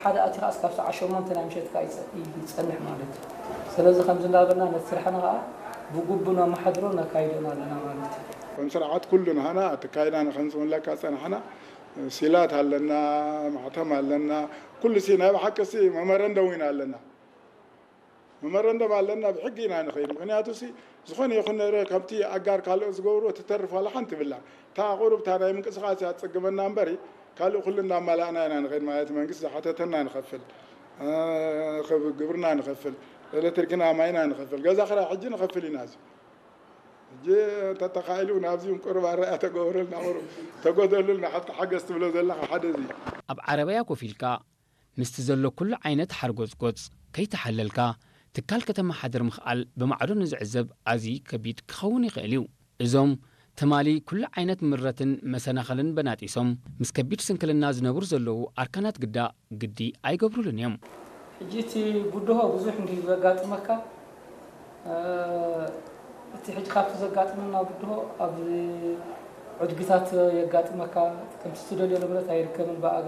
ሓደ ኣቲኻ እስካብ ሰዓት ሸሞንተ ናይ ምሸት ከኣ ይጸ- ይጸንሕ ማለት እዩ። ስለዚ ከምዚ እንዳበልና ነቲ ስራሕና ከኣ ብግቡእ ነመሓድሮን ነካይዶን ኣለና ማለት እዩ። ከም ስርዓት ኩሉ ንሃና ኣካይዳና ከም ዝምለካ ጸናሕና፣ ሲላት ኣለና፣ ማሕተም ኣለና፣ ኩሉ ሲ ናይ ብሓቂ ሲ መመረንደም ኢና ኣለና። መመረንደም ኣለና፣ ብሕጊ ኢና ንኸይድ። ምኽንያቱ ሲ ዝኾነ ይኹን ነገር ከምቲ ኣጋር ካልኦት ዝገብርዎ ትተርፍ ዋላ ሓንቲ ብላ። እታ ቁሩብ እታ ናይ ምንቅስቃስ እያ ትጽግመና እምበሪ ካልእ ኩሉ እንዳማላእና ኢና ንኸይድ ማለት መንግስቲ ዝሓተተና ንኸፍል፣ እ፣ ክብ- ግብርና ንኸፍል፣ ኤሌክትሪክና ማይና ንኸፍል፣ ገዛ ክራይ ሕጂ ንኸፍል ኢና። እዚ ሕጂ እንተተኻኢሉ ናብዚ እውን ቁሩብ ኣረኣያ ተገብረልና፣ ቁሩብ ተጎደሉልና፣ ሓቲ ሓገዝ ትብሎ ዘለኻ ሓደ እዚ እዩ። ኣብ ዓረብያ ኮፍ ኢልካ ምስቲ ዘሎ ኩሉ ዓይነት ሓርጎጽጎጽ ከይተሓለልካ ትካል ከተመሓድር ምኽኣል ብማዕዶ ንዝዕዘብ ኣዝዩ ከቢድ ክኸውን ይኽእል እዩ። እዞም ትማሊ ኩሉ ዓይነት ምረትን መሰናኽልን በናጢሶም ምስ ከቢድ ስንክልና ዝነብሩ ዘለዉ ኣርካናት ግዳ ግዲ ኣይገብሩሉን እዮም። ሕጂ እቲ ብድሆ ብዙሕ እንድዩ ዘጋጥመካ፣ እ፣ እቲ ሕጂ ካብቲ ዘጋጥመና ብድሆ ኣብ ዕድግታት የጋጥመካ፣ ከምቲ ትደልዮ ንብረት ኣይርከብን ብኣጋ።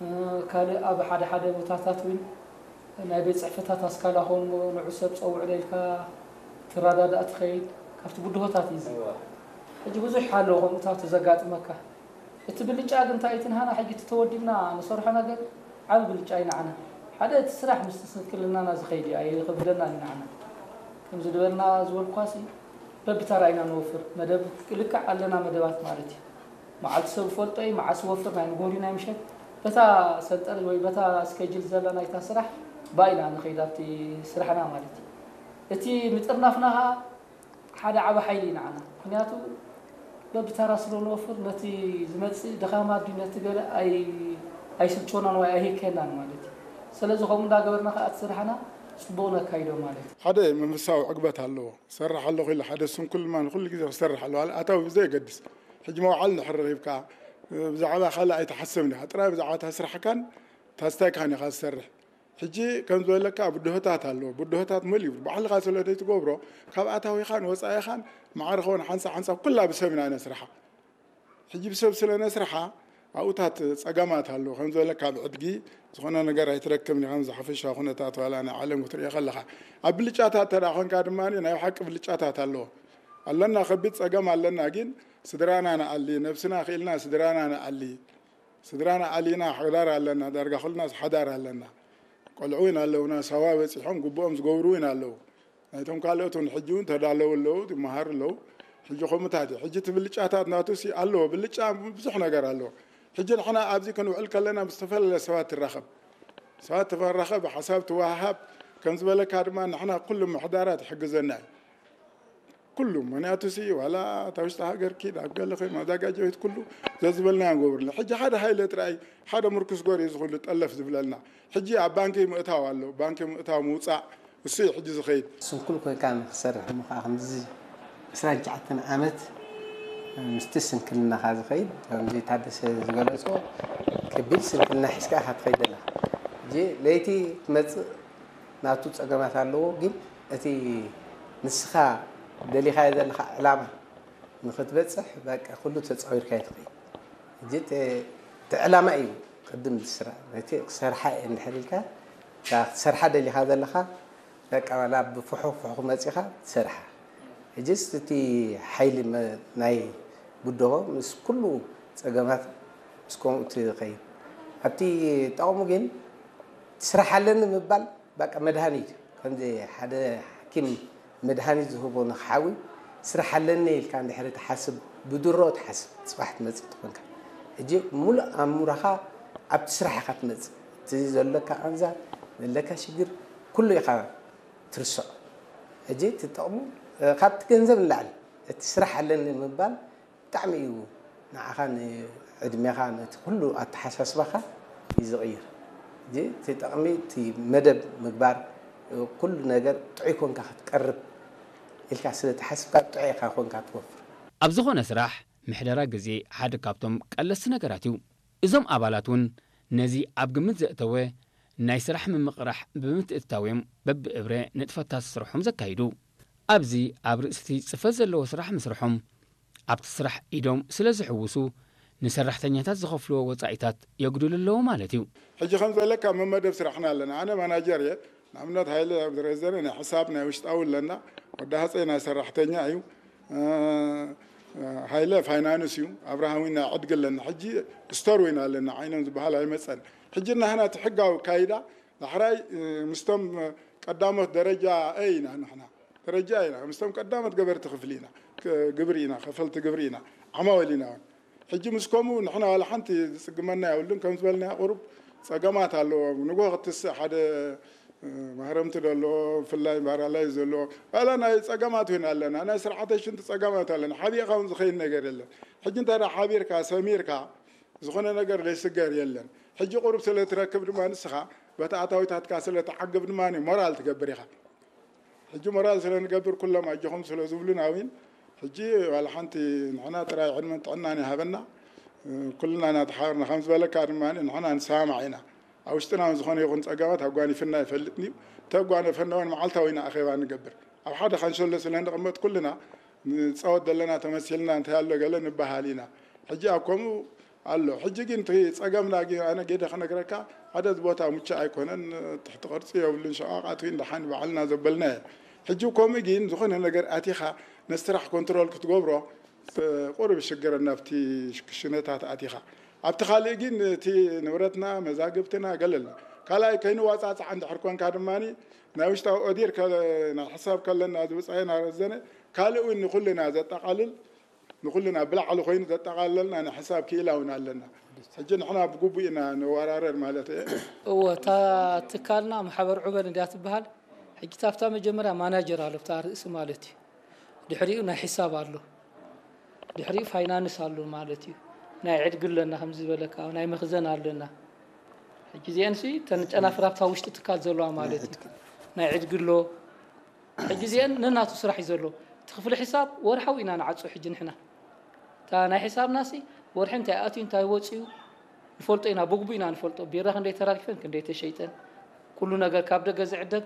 እ፣ ካልእ ኣብ ሓደ ሓደ ቦታታት እውን ናይ ቤት ጽሕፈታት ኣስካላ ኾን ንዑ ሰብ ጸውዕ ኢልካ ትረዳዳእ ትኸይድ፣ ካብቲ ብድሆታት እዩ እዚ። ሕጂ ብዙሕ ኣሎ ከምኡታት ዘጋጥመካ። እቲ ብልጫ ግን እንታይ እቲ ንሃና ሕጂ እቲ ተወዲብና ንሰርሖ ነገር ዓቢ ብልጫ እዩ ንዓና። ሓደ እቲ ስራሕ ምስቲ ስንክልናና ዝኸይድ እዩ፣ ኣይኸብደናን እዩ ንዓና። ከምዚ ዝበልና ዝበልኳሲ በብተራ ኢና ንወፍር። መደብ ልክዕ ኣለና መደባት ማለት እዩ። መዓልቲ ሰብ ዝፈልጦ እዩ፣ መዓስ ዝወፍር ናይ ንጎሪ ናይ ምሸት። በታ ሰንጠር ወይ በታ ስኬጅል ዘላ ናይታ ስራሕ ባይና ንኸይድ ኣብቲ ስራሕና ማለት እዩ። እቲ ምጥርናፍና ኸዓ ሓደ ዓቢ ሓይሊ እዩ ንዓና። ምኽንያቱ በብተራ ስለ ንወፍር ነቲ ዝመጽእ ድኻማ ድዩ ነቲ ገለ ኣይ- ኣይስልችወናን ወይ ኣይህከናን ማለት እዩ። ስለዚ ከምኡ እንዳገበርና ከኣ እቲ ስራሕና ጽቡቕ ነካይዶ ማለት እዩ። ሓደ መንፈሳዊ ዕግበት ኣለዎ። ክሰርሕ ኣለኹ ኢለ ሓደ ስንኩል ድማ ንኹሉ ግዜ ክሰርሕ ኣለዎ። ኣታዊ ብዘየገድስ ሕጂ መውዓል እንድሕር ረኺብካ ብዛዕባ ካልእ ኣይትሓስብን ኢኻ። ጥራይ ብዛዕባ እታ ስራሕካን እታ ስታይካን ኢኻ ዝሰርሕ። ሕጂ ከም ዝበለካ ብድሆታት ኣለዎ። ብድሆታት መሊኡ ባዕልኻ ስለ ዘይትገብሮ ካብ ኣታዊኻን ወጻኢኻን ማዕረ ኸውን ሓንሳብ ሓንሳብ ኩላ ብሰብ ኢና ነስርሓ። ሕጂ ብሰብ ስለ ነስርሓ ኣብኡታት ጸገማት ኣለዎ። ከም ዝበለካ ኣብ ዕድጊ ዝኾነ ነገር ኣይትረክብን ኢኻ። ዝሓፈሻ ኩነታት ዋላ ናይ ዓለም ክትሪኦ ከለኻ ኣብ ብልጫታት ተዳ ኮንካ ድማ ናይ ሓቂ ብልጫታት ኣለዎ። ኣለና ከቢድ ጸገም ኣለና፣ ግን ስድራና ንኣሊ፣ ነብስና ክኢልና ስድራና ንኣሊ። ስድራና ኣሊና ሓዳር ኣለና፣ ዳርጋ ኩልናስ ሓዳር ኣለና። ቆልዑ ኢና ኣለውና፣ ሳዋ በጺሖም ግቡኦም ዝገብሩ ኢና ኣለዉ። ናይቶም ካልኦት እውን ሕጂ እውን ተዳለዉ ኣለዉ፣ ይመሃሩ ኣለዉ። ሕጂ ከምኡታት እዩ። ሕጂ እቲ ብልጫታት ናቱ ሲ ኣለዎ፣ ብልጫ ብዙሕ ነገር ኣለዎ። ሕጂ ንሕና ኣብዚ ክንውዕል ከለና ምስ ዝተፈላለየ ሰባት ትራኸብ። ሰባት ትራኸብ፣ ሓሳብ ትወሃሃብ፣ ከም ዝበለካ ድማ ንሕና ኩሉ ምሕዳራት ይሕግዘና እዩ። ኩሉ፣ ምኽንያቱ ሲ ዋላ እታ ውሽጢ ሃገር ኪድ ኣብ ገለ ኸይ ማዛጋጃ ቤት ኩሉ ዘዝበልና ንገብርላ። ሕጂ ሓደ ሃይለ ጥራይ ሓደ ምርኩስ ጎሪ ዝኹሉ ጠለፍ ዝብለልና። ሕጂ ኣብ ባንኪ ምእታው ኣሎ፣ ባንኪ ምእታው ምውጻእ እሱ እዩ ሕጂ ዝኸይድ። ስንኩል ኮይንካ ንክሰርሕ እሞ ከዓ ከምዚ ዕስራን ትሽዓተን ዓመት ምስቲ ስንክልናኻ ዝኸይድ ከምዚ ታደሰ ዝገለጾ ከቢድ ስንክልና ሒዝካ ኢኻ ትኸይድ ዘለኻ። ሕጂ ለይቲ ትመጽእ ናቱ ጸገማት ኣለዎ፣ ግን እቲ ንስኻ ደሊኻዮ ዘለኻ ዕላማ ንኽትበጽሕ በቃ ኩሉ ተጻዊርካ ትኸይድ። ሕጂ እቲ እቲ ዕላማ እዩ ቅድም ዝስራ። ነቲ ክሰርሓ እየ እንድሕር ኢልካ እታ ክትሰርሓ ደሊኻ ዘለኻ በቃ ዋላ ብፍሑኽ ፍሑኽ መጺኻ ትሰርሓ። ሕጂስ እቲ ሓይሊ መ- ናይ ብድሆ ምስ ኩሉ ጸገማት ምስ ከምኡ ትኸይድ። ኣብቲ ጠቕሙ ግን ስራሕ ኣለኒ ምባል በቃ መድሃኒት እዩ። ከምዚ ሓደ ሓኪም መድሃኒት ዝህቦ ንክሓዊ ስራሕ ኣለኒ ኢልካ እንድሕሪ ትሓስብ ብድሮ ትሓስብ ጽባሕ ትመጽእ ትኾንካ። ሕጂ ሙሉእ ኣእምሮኻ ኣብቲ ስራሕ ኢኻ ትመጽእ። እቲ ዘለካ ቃንዛ ዘለካ ሽግር ኩሉ ኢኻ ትርስዖ። ሕጂ እቲ ጠቕሙ ካብቲ ገንዘብ ንላዕሊ እቲ ስራሕ ኣለኒ ምባል ብጣዕሚ እዩ ንዓኻ ንዕድሜኻ ነቲ ኩሉ ኣተሓሳስባኻ እዩ ዝቕይር። እዚ እቲ ጠቕሚ እቲ መደብ ምግባር ኩሉ ነገር ጥዑይ ኮንካ ክትቀርብ ኢልካ ስለ ተሓስብካ ጥዑይ ኢኻ ኮንካ ትወፍር። ኣብ ዝኾነ ስራሕ ምሕደራ ግዜ ሓደ ካብቶም ቀለስቲ ነገራት እዩ። እዞም ኣባላት እውን ነዚ ኣብ ግምት ዘእተወ ናይ ስራሕ ምምቕራሕ ብምትእትታው እዮም በብእብረ ንጥፈታት ስርሖም ዘካይዱ። ኣብዚ ኣብ ርእስቲ ጽፈት ዘለዎ ስራሕ ምስርሖም ኣብቲ ስራሕ ኢዶም ስለ ዝሕውሱ ንሰራሕተኛታት ዝኸፍልዎ ወጻኢታት የጉድሉ ኣለዉ ማለት እዩ። ሕጂ ከም ዝበለካ መመደብ ስራሕና ኣለና። ኣነ ማናጀር እየ። ንኣብነት ሃይለ ኣብ ዝረዘነ ናይ ሕሳብ ናይ ውሽጣዊ ኣለና፣ ወዲ ሃፀይ ናይ ሰራሕተኛ እዩ። ሃይለ ፋይናንስ እዩ። ኣብርሃም ናይ ዕድጊ ኣለና። ሕጂ ስቶር ወይና ኣለና፣ ዓይኖም ዝበሃል ኣይመፀን። ሕጂ ናህና እቲ ሕጋዊ ካይዳ ዳሕራይ ምስቶም ቀዳሞት ደረጃ ኤ ኢና ንሕና፣ ደረጃ ኢና ምስቶም ቀዳሞት ገበርቲ ክፍሊ ኢና፣ ግብሪ ኢና፣ ከፈልቲ ግብሪ ኢና፣ ዓማወል ኢና። ሕጂ ምስ ከምኡ ንሕና ዋላ ሓንቲ ዝፅግመና የብሉን። ከም ዝበልናዮ ቁሩብ ፀገማት ኣለዎም። ንጎ ክትስእ ሓደ ማህረምቲ ደሎ፣ ብፍላይ ባራላይ ዘሎ ዋላ ናይ ፀገማት ወይና ኣለና፣ ናይ ስርዓተ ሽንቲ ፀገማት ኣለና። ሓቢእካ እውን ዝኸይድ ነገር የለን። ሕጂ እንተ ሓቢርካ ሰሚርካ ዝኾነ ነገር ዘይስገር የለን። ሕጂ ቁሩብ ስለ ትረክብ ድማ ንስኻ በቲ ኣታዊታትካ ስለ ትዓግብ ድማ ሞራል ትገብር ኢኻ። ሕጂ ሞራል ስለ ንገብር ኩሎም ኣጆኹም ስለ ዝብሉና እውን ሕጂ ዋላ ሓንቲ ንሕና ጥራይ ዕድመን ጥዕናን ይሃበና። ኩልና እናተሓበርና ከም ዝበለካ ድማ ንሕና ንሰማማዕ ኢና። ኣብ ውሽጥና ዝኾነ ይኹን ፀገማት ኣጓኒፍና ይፈልጥን እዩ። ተጓነፈና እውን መዓልታዊ ኢና ኣኼባ ንገብር። ኣብ ሓደ ካንሸሎ ስለ ንቕመጥ ኩልና ንፃወት ዘለና ተመሲልና እንታይ ኣሎ ገለ ንበሃል ኢና። ሕጂ ኣብ ከምኡ ኣሎ። ሕጂ ግን እቲ ፀገምና ግን ኣነ ጌደ ክነግረካ ሓደ ቦታ ምቹእ ኣይኮነን። ትሕቲ ቅርፂ የብሉን። ሸቓቓት እውን ደሓን ባዕልና ዘበልና እየ። ሕጂ ከምኡ ግን ዝኾነ ነገር ኣቲኻ ነስራሕ ኮንትሮል ክትገብሮ ቁሩብ ሽግር ናብቲ ክሽነታት ኣቲኻ ኣብቲ ካልእ ግን እቲ ንብረትና መዛግብትና ገለልና ካልኣይ ከይንዋፃፃዕ እንድሕር ኮንካ ድማ ናይ ውሽጣዊ ኦዲር ናይ ሕሳብ ከለና ዝብፃየና ረዘነ ካልእ እውን ንኩልና ዘጠቃልል ንኩልና ብላዕሊ ኮይኑ ዘጠቃለልና ናይ ሕሳብ ክኢላ እውን ኣለና። ሕጂ ንሕና ብግቡእ ኢና ንወራረድ ማለት እየ። እወ እታ ትካልና ማሕበር ዑበል እንድያ ትበሃል። ሕጂ ታብታ መጀመርያ ማናጀር ኣሎ ብታ ርእሲ ማለት እዩ። ድሕሪኡ ናይ ሕሳብ ኣሎ። ድሕሪኡ ፋይናንስ ኣሎ ማለት እዩ። ናይ ዕድጊ ኣለና ከምዚ ዝበለካ ናይ መኽዘን ኣለና። ሕጂ እዚአን ሲ ተን ጨናፍር ኣብታ ውሽጢ ትካል ዘለዋ ማለት እዩ። ናይ ዕድጊ ኣሎ። ሕጂ እዚአን ነናቱ ስራሕ እዩ ዘሎ። እቲ ክፍሊ ሕሳብ ወርሓዊ ኢና ንዓፁ ሕጂ ንሕና። እታ ናይ ሕሳብና ሲ ወርሒ እንታይ ኣትዩ እንታይ ወፅዩ ንፈልጦ ኢና። ብግቡ ኢና ንፈልጦ። ቢራ ክንደይ ተራጊፈን ክንደይ ተሸይጠን ኩሉ ነገር ካብ ደገ ዝዕደግ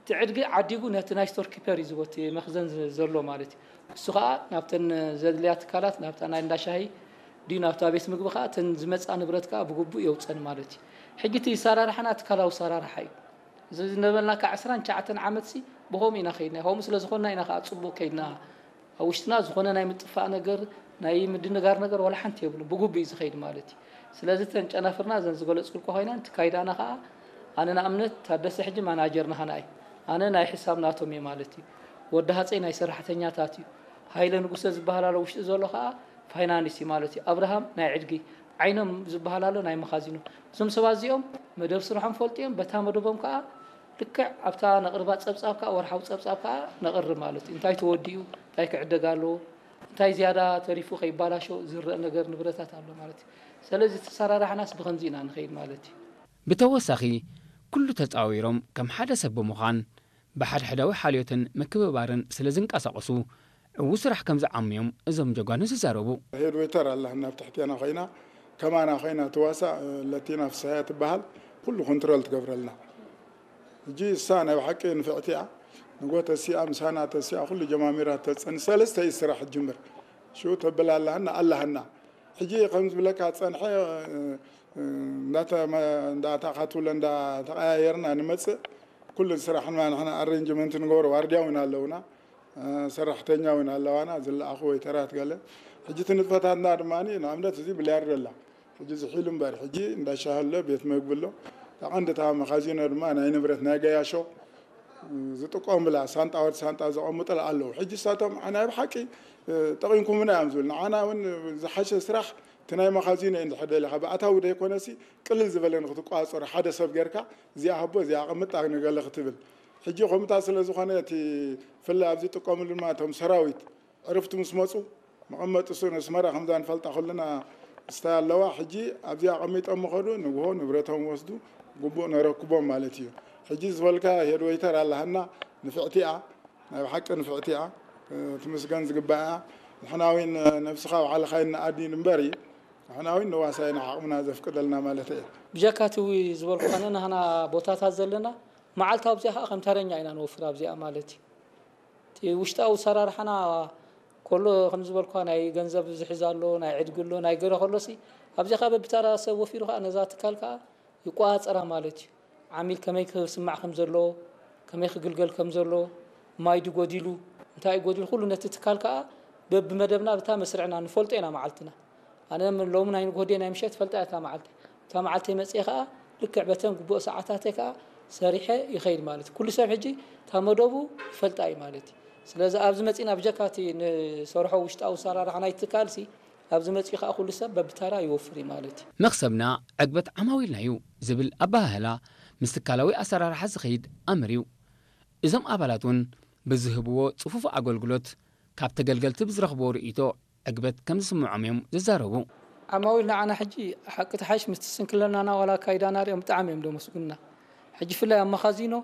እቲ ዕድጊ ዓዲጉ ነቲ ናይ ስቶር ኪፐር እዩ ዝቦቲ መኽዘን ዘሎ ማለት እዩ። እሱ ከዓ ናብተን ዘድልያ ትካላት ናብታ ናይ እንዳሻሂ ድዩ ናብታ ቤት ምግቢ ከዓ እተን ዝመፃ ንብረት ከዓ ብግቡእ የውፀን ማለት እዩ። ሕጂ እቲ ሰራርሓና ትካላዊ ሰራርሓ እዩ። እዚ ዝነበልናካ ዕስራን ትሽዓተን ዓመት ሲ ብኸምኡ ኢና ከይድና ከምኡ ስለ ዝኾንና ኢና ከዓ ፅቡቅ ከይድና ኣብ ውሽጥና ዝኾነ ናይ ምጥፋእ ነገር ናይ ምድንጋር ነገር ዋላ ሓንቲ የብሉ ብግቡእ እዩ ዝኸይድ ማለት እዩ። ስለዚ እተን ጨናፍርና እዘን ዝገለፅኩልካ ኮይነን እቲ ካይዳና ከዓ ኣነ ንኣብነት ታደሰ ሕጂ ማናጀር ናህና እዩ። ኣነ ናይ ሕሳብ ናቶም እየ ማለት እዩ። ወዲ ሃፀይ ናይ ሰራሕተኛታት እዩ። ሃይለ ንጉሰ ዝበሃል ኣሎ ውሽጢ ዘሎ ከዓ ፋይናንስ እዩ ማለት እዩ። ኣብርሃም ናይ ዕድጊ ዓይኖም ዝበሃል ኣሎ ናይ መኻዚኖ። እዞም ሰባት እዚኦም መደብ ስርሖም ፈልጡ እዮም። በታ መደቦም ከዓ ልክዕ ኣብታ ነቕርባ ፀብፃብ ከዓ ወርሓዊ ፀብፃብ ከዓ ነቕርብ ማለት እዩ። እንታይ ተወዲኡ እንታይ ክዕደግ ኣለዎ እንታይ ዝያዳ ተሪፉ ከይባላሾ ዝረአ ነገር ንብረታት ኣሎ ማለት እዩ። ስለዚ ተሰራራሕናስ ብኸምዚ ኢና ንኸይድ ማለት እዩ። ብተወሳኺ ኩሉ ተፃዊሮም ከም ሓደ ሰብ ብምዃን ብሓድሕዳዊ ሓልዮትን ምክብባርን ስለ ዝንቀሳቐሱ ዕዉ ስራሕ ከም ዝዓምዮም እዞም ጀጓኑ ዝዛረቡ። ሄድ ዌተር ኣላ ናብ ትሕቴና ኮይና ከማና ኮይና ትዋሳእ ለቲና ፍስሃያ ትበሃል ኩሉ ኮንትሮል ትገብረልና። ሕጂ እሳ ናይ ብሓቂ ንፍዕቲ እያ። ንጎ ተሲኣ ምሳና ተሲኣ ኩሉ ጀማሚራ ተፀን ሰለስተ እዩ ስራሕ ጅምር ሽኡ ተብል ኣለሃና ኣለሃና ሕጂ ከም ዝብለካ ፀንሐ እንዳተኻትብለ እንዳተቀያየርና ንመፅእ ኩሉ ስራሕና ንሕና ኣሬንጅመንት ንገብሮ ዋርድያ እውን ኣለውና ሰራሕተኛ እውን ኣለዋና ዝለኣኹ ወይተራት ገለ ሕጂ እቲ ንጥፈታትና ድማ ንኣብነት እዚ ብልያርዶ ኣላ ሕጂ ዝሒሉ እምበር ሕጂ እንዳሻሂ ኣሎ ቤት መግቢ ኣሎ እታ ቀንዲ እታ መኻዚኖ ድማ ናይ ንብረት ናይ ገያሾ ዝጥቀሙላ ሳንጣ ወዲ ሳንጣ ዘቐምጡላ ኣለዉ ሕጂ እሳቶም ናይ ብሓቂ ጠቒምኩምና እዮም ዝብል ንዓና እውን ዝሓሸ ስራሕ እቲ ናይ መኻዚኖ እዩ እንድሕር ደሊኻ ብኣታዊ ዘይኮነሲ ቅልል ዝበለ ንክትቋፀሮ ሓደ ሰብ ጌርካ እዚኣ ሃቦ እዚኣ ኣቐምጣ ንገለ ክትብል ሕጂ ከምታ ስለ ዝኾነ እቲ ፍላይ ኣብዚ ጥቀምሉ ድማ እቶም ሰራዊት ዕርፍቲ ምስ መፁ መቐመጢ እሱ ነስመራ ከምዛ ንፈልጣ ኩልና ስታይ ኣለዋ ሕጂ ኣብዚ ኣቐሚጦም ምኸዱ ንግሆ ንብረቶም ወስዱ ግቡእ ነረክቦም ማለት እዩ ሕጂ ዝበልካ ሄድ ወይተር ኣለሃና ንፍዕቲ እያ ናይ ብሓቂ ንፍዕቲ እያ ትምስገን ዝግባእ እያ ንሕና እውን ነብስኻ ባዕልኻ ይንኣድን እምበር ንሕና እውን ንዋሳይና ዓቕምና ዘፍቅደልና ማለት እየ ብጀካ እቲ ዝበልኩ ከነ ናህና ቦታታት ዘለና መዓልታዊ ኣብዚኣ ከዓ ከም ተረኛ ኢና ንወፍር ኣብዚኣ ማለት እዩ እቲ ውሽጣዊ ሰራርሓና ከሎ ከም ዝበልኳ ናይ ገንዘብ ዝሕዝ ኣሎ፣ ናይ ዕድጊ ኣሎ፣ ናይ ገለ ከሎሲ ኣብዚኣ ከዓ በብታራ ሰብ ወፊሩ ከዓ ነዛ ትካል ከዓ ይቆፃፀራ ማለት እዩ። ዓሚል ከመይ ክስማዕ ከም ዘለዎ፣ ከመይ ክግልገል ከም ዘለዎ፣ ማይ ድዩ ጎዲሉ፣ እንታይ እዩ ጎዲሉ፣ ኩሉ ነቲ ትካል ከዓ በብመደብና ብታ መስርዕና ንፈልጦ ኢና መዓልትና። ኣነ ሎሚ ናይ ንግሆ ድየ ናይ ምሸት ፈልጣ እያ እታ መዓልቲ። እታ መዓልቲ መፅየ ከዓ ልክዕ በተን ግቡእ ሰዓታተይ ከዓ ሰሪሐ ይኸይድ ማለት እዩ። ኩሉ ሰብ ሕጂ እታ መደቡ ይፈልጣ እዩ ማለት እዩ። ስለዚ ኣብዚ መፂና ብጀካ እቲ ንሰርሖ ውሽጣዊ ኣሰራርሓ ናይ ትካልሲ ኣብዚ መፂኡ ከዓ ኩሉ ሰብ በብታራ ይወፍር እዩ ማለት እዩ። መኽሰብና ዕግበት ዓማዊልና እዩ ዝብል ኣበሃህላ ምስ ትካላዊ ኣሰራርሓ ዝኸይድ ኣምር እዩ። እዞም ኣባላት እውን ብዝህብዎ ፅፉፍ ኣገልግሎት ካብ ተገልገልቲ ብዝረኽብዎ ርእይቶ ዕግበት ከም ዝስምዖም እዮም ዝዛረቡ። ዓማዊል ንዓና ሕጂ ሓቂ ተሓይሽ ምስቲ ስንክልናና ዋላ ኣካይዳና ሪኦም ብጣዕሚ እዮም ደመስጉንና። ሕጂ ፍላይ ኣብ መኻዚኖ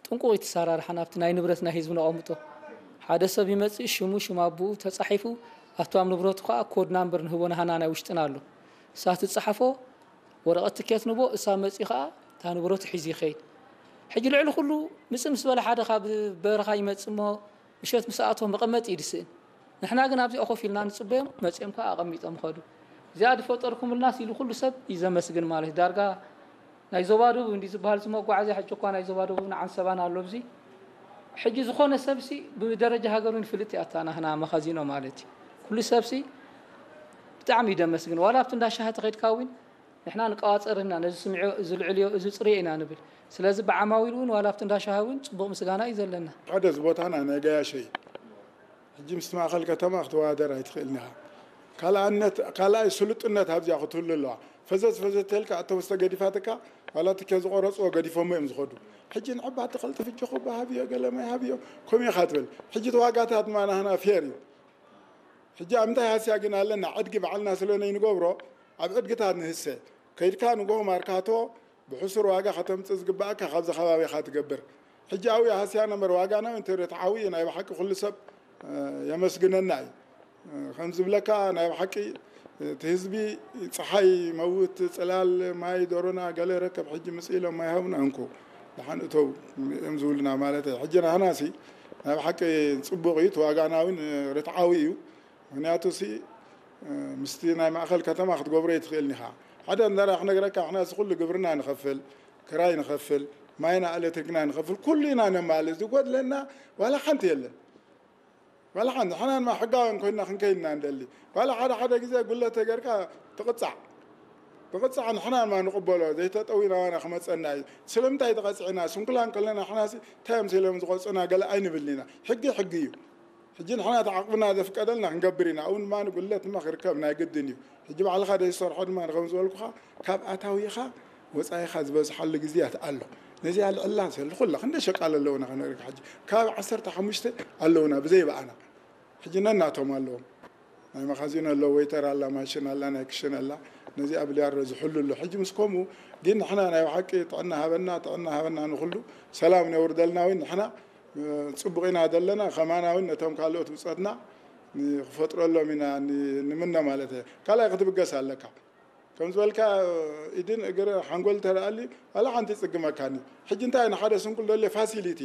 ጥንቁቕ እዩ እቲ ኣሰራርሓ ናብቲ ናይ ንብረት ናይ ህዝቢ ነቐምጦ። ሓደ ሰብ ይመፅእ ሽሙ ሽም ኣቦኡ ተፃሒፉ ኣብቲ ኣብ ንብረቱ ከዓ ኮድ ናምበር ንህቦ ናህና ናይ ውሽጥና ኣሎ። እሳ ትፀሓፎ ወረቐት ትኬት ንቦ እሳ መፂኡ ከዓ እታ ንብረቱ ሒዙ ይኸይድ። ሕጂ ልዕሊ ኩሉ ምፅእ ምስ በለ ሓደ ካብ በረኻ ይመፅእ እሞ ምሸት ምስ ኣተወ መቐመጢ እዩ ዝስእን። ንሕና ግን ኣብዚኣ ኮፍ ኢልና ንፅበዮም መፂኦም ከዓ ኣቐሚጦም ይኸዱ። እዚኣ ዝፈጠርኩምልናስ ኢሉ ኩሉ ሰብ እዩ ዘመስግን ማለት እዩ። ዳርጋ ናይ ዞባ ደቡብ እንዲ ዝበሃል እዚ መጓዓዝያ ሕጂ እኳ ናይ ዞባ ደቡብን ዓንሰባን ኣሎ ኣብዚ ሕጂ ዝኾነ ሰብሲ ብደረጃ ሃገር እውን ፍልጥ እያ እታ ናህና መኻዚኖ ማለት እዩ። ኩሉ ሰብሲ ብጣዕሚ እዩ ደመስግን ዋላ ኣብቲ እንዳ ሻሂ ተኸድካ እውን ንሕና ንቀዋፀር ኢና ነዚ ስምዒዮ እዚ ልዕልዮ እዚ ፅርዮ ኢና ንብል። ስለዚ ብዓማዊል እውን ዋላ ኣብቲ እንዳ ሻሂ እውን ፅቡቕ ምስጋና እዩ ዘለና። ሓደ እዚ ቦታና ናይ ገያሸ እዩ። ሕጂ ምስቲ ማእኸል ከተማ ክትወዳደር ኣይትኽእልን ኢኻ። ካልኣነት ካልኣይ ስሉጥነት ኣብዚኣ ክትህሉ ኣለዋ። ፈዘዝ ፈዘዝ ተልካ እቶም ዝተገዲፋትካ ዋላ ትኬት ዝቆረፅዎ ገዲፎሞ እዮም ዝኸዱ። ሕጂ ንዕባ ትኸልጥፍ እጆኹ ብሃብዮ ገለ ማይ ሃብዮ ከምኡ ኢኻ ትብል። ሕጂ እቲ ዋጋታት ድማ ናህና ፌር እዩ። ሕጂ ኣብ ምንታይ ሃስያ ግን ኣለና ዕድጊ ባዕልና ስለ ነይንገብሮ ኣብ ዕድግታት ንህሰ ከይድካ ንጎ ማርካቶ ብሕሱር ዋጋ ከተምፅእ ዝግባእካ ካብዚ ከባቢኻ ትገብር። ሕጂ ኣብኡ ሃስያ ነበር ዋጋ ናብ ኢንተርኔት ዓብዩ ናይ ብሓቂ ኩሉ ሰብ የመስግነና እዩ። ከም ዝብለካ ናይ ብሓቂ እቲ ህዝቢ ፀሓይ መውት ፅላል ማይ ዶሮና ገለ ረከብ ሕጂ ምፅእ ኢሎም ማይ ሃቡና እንኩ ደሓን እተው እዮም ዝብሉና ማለት እዩ። ሕጂ ናህናሲ ናይ ብሓቂ ፅቡቕ እዩ። እቲ ዋጋና እውን ርትዓዊ እዩ። ምክንያቱ ሲ ምስቲ ናይ ማእኸል ከተማ ክትገብሮ ይትኽእል ኒኻ ሓደ እንዳራ ክነግረካ ንሕና እዚ ኩሉ ግብርና ንኸፍል ክራይ ንኸፍል ማይና ኤሌክትሪክና ንኸፍል ኩሉ ኢና ነማልእ ዝጎድለና ዋላ ሓንቲ የለን። ዋላ ሓንቲ ንሕና ድማ ሕጋውያን ኮይንና ክንከይድ ኢና ንደሊ። ዋላ ሓደ ሓደ ግዜ ጉለት ተገርካ ትቕፃዕ ትቕፃዕ ንሕና ድማ ንቕበሎ ዘይተጠዊና ዋና ክመፀና እዩ። ስለምንታይ ተቐፂዕና ስንኩላን ከለና ንሕናሲ እንታይ እዮም ሲሎም ዝቐፁና ገለ ኣይንብልን ኢና። ሕጊ ሕጊ እዩ። ሕጂ ንሕና እቲ ዓቕምና ዘፍቀደልና ክንገብር ኢና። ኣብኡ ድማ ንጉድለት ድማ ክርከብ ናይ ግድን እዩ። ሕጂ ባዕልኻ ዘይትሰርሖ ድማ ንከም ዝበልኩኻ ካብ ኣታዊኻ ወፃኢኻ ዝበዝሓሉ ግዜያት ኣሎ። ነዚኣ ልዕላ ሰልኹላ ክንደ ሸቃል ኣለውና ከነርካ ሕጂ ካብ ዓሰርተ ሓሙሽተ ኣለውና ብዘይ በኣና ሕጂ ነናቶም ኣለዎም። ናይ መኻዚን ኣሎ፣ ወይተር ኣላ፣ ማሽን ኣላ፣ ናይ ክሽን ኣላ። ነዚኣ ብልያሮ ዝሕሉ ኣሎ። ሕጂ ምስ ከምኡ ግን ንሕና ናይ ብሓቂ ጥዕና ሃበና፣ ጥዕና ሃበና ንኹሉ ሰላም ነውርደልና ወይ ንሕና ፅቡቕ ኢና ዘለና። ከማና እውን ነቶም ካልኦት ብፆትና ክፈጥረሎም ኢና ንምነ ማለት እየ። ካልኣይ ክትብገስ ኣለካ። ከም ዝበልካ ኢድን እግር ሓንጎል ተደኣሊ ዋላ ሓንቲ ይፅግመካኒ። ሕጂ እንታይ ንሓደ ስንኩል ደልየ ፋሲሊቲ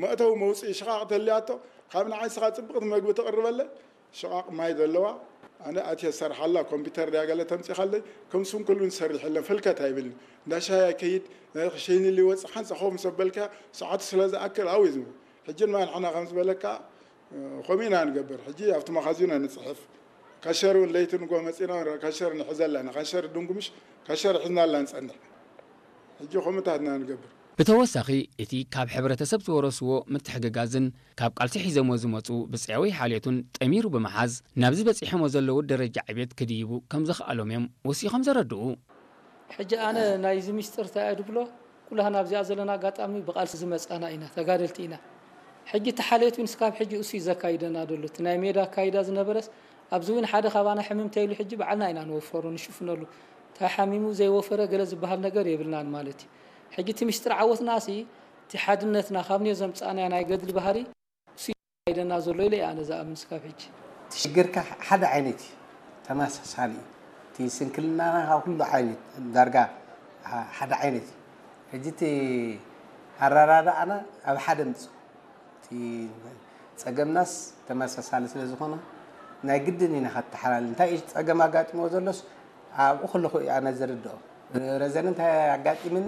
መእተዊ መውፅኢ ሽቓቕ ተልያቶ ካብ ንዓይ ስኻ ፅብቕቲ መግቢ ትቕርበለ ሽቓቕ ማይ ዘለዋ ኣነ ኣትየ ዝሰርሓላ ኮምፒተር ድያ ገለ ተምፂኻለይ ከም ስንኩል እውን ዝሰርሕ የለን ፈልከት ኣይብልኒ። እንዳ ሻሂ ኣይከይድ ሸይኒ ሊወፅእ ሓንሳ ኸው ምስ ኣበልካ ሰዓቱ ስለ ዝኣክል ኣው እዩ ዝብል። ሕጂ ድማ ንሕና ከም ዝበለካ ከምኡ ኢና ንገብር። ሕጂ ኣብቲ መኻዚኖ ንፅሕፍ። ካሸር እውን ለይቲ ንጎ መፂና እውን ካሸር ንሕዘ ኣለና። ካሸር ድንጉምሽ ካሸር ሒዝና ኣላ ንፀንሕ። ሕጂ ከምኡታት ኢና ንገብር። ብተወሳኺ እቲ ካብ ሕብረተሰብ ዝወረስዎ ምትሕግጋዝን ካብ ቃልሲ ሒዘሞ ዝመፁ ብፅያዊ ሓልዮቱን ጠሚሩ ብምሓዝ ናብዚ በፂሖሞ ዘለዉ ደረጃ ዕብየት ክድይቡ ከም ዘኽኣሎም እዮም ወሲኾም ዘረድኡ። ሕጂ ኣነ ናይዚ ሚስጥር እንታይ እየ ድብሎ ኩላህና ኣብዚኣ ዘለና ኣጋጣሚ ብቃልሲ ዝመፃና ኢና፣ ተጋደልቲ ኢና። ሕጂ እቲ ሓልዮት እውን ስካብ ሕጂ እሱ እዩ ዘካይደና ዘሎ። እቲ ናይ ሜዳ ኣካይዳ ዝነበረስ ኣብዚ እውን ሓደ ካባና ሕምም ተይሉ ሕጂ ባዕልና ኢና ንወፈሮ ንሽፍነሉ። እንታይ ሓሚሙ ዘይወፈረ ገለ ዝበሃል ነገር የብልናን ማለት እዩ። ሕጂ እቲ ሚስጥር ዓወትና ሲ እቲ ሓድነትና ካብ ኔ ዘምፃእናዮ ናይ ገድሊ ባህሪ እሱ እዩ ዘካይደና ዘሎ ኢለ እየ ኣነ ዝኣምን ስካብ ሕጂ። እቲ ሽግርካ ሓደ ዓይነት እዩ፣ ተመሳሳሊ እዩ። እቲ ስንክልናና ካብ ኩሉ ዓይነት ዳርጋ ሓደ ዓይነት እዩ። ሕጂ እቲ ኣረዳድኣና ኣብ ሓደ ምፅእ እቲ ፀገምናስ ተመሳሳሊ ስለ ዝኾነ ናይ ግድን ኢና ከተሓላል። እንታይ እዩ ጸገም ኣጋጢሞ ዘሎስ ኣብኡ ከለኹ እዩ ኣነ ዝርድኦ። ረዘን እንታይ ኣጋጢምኒ?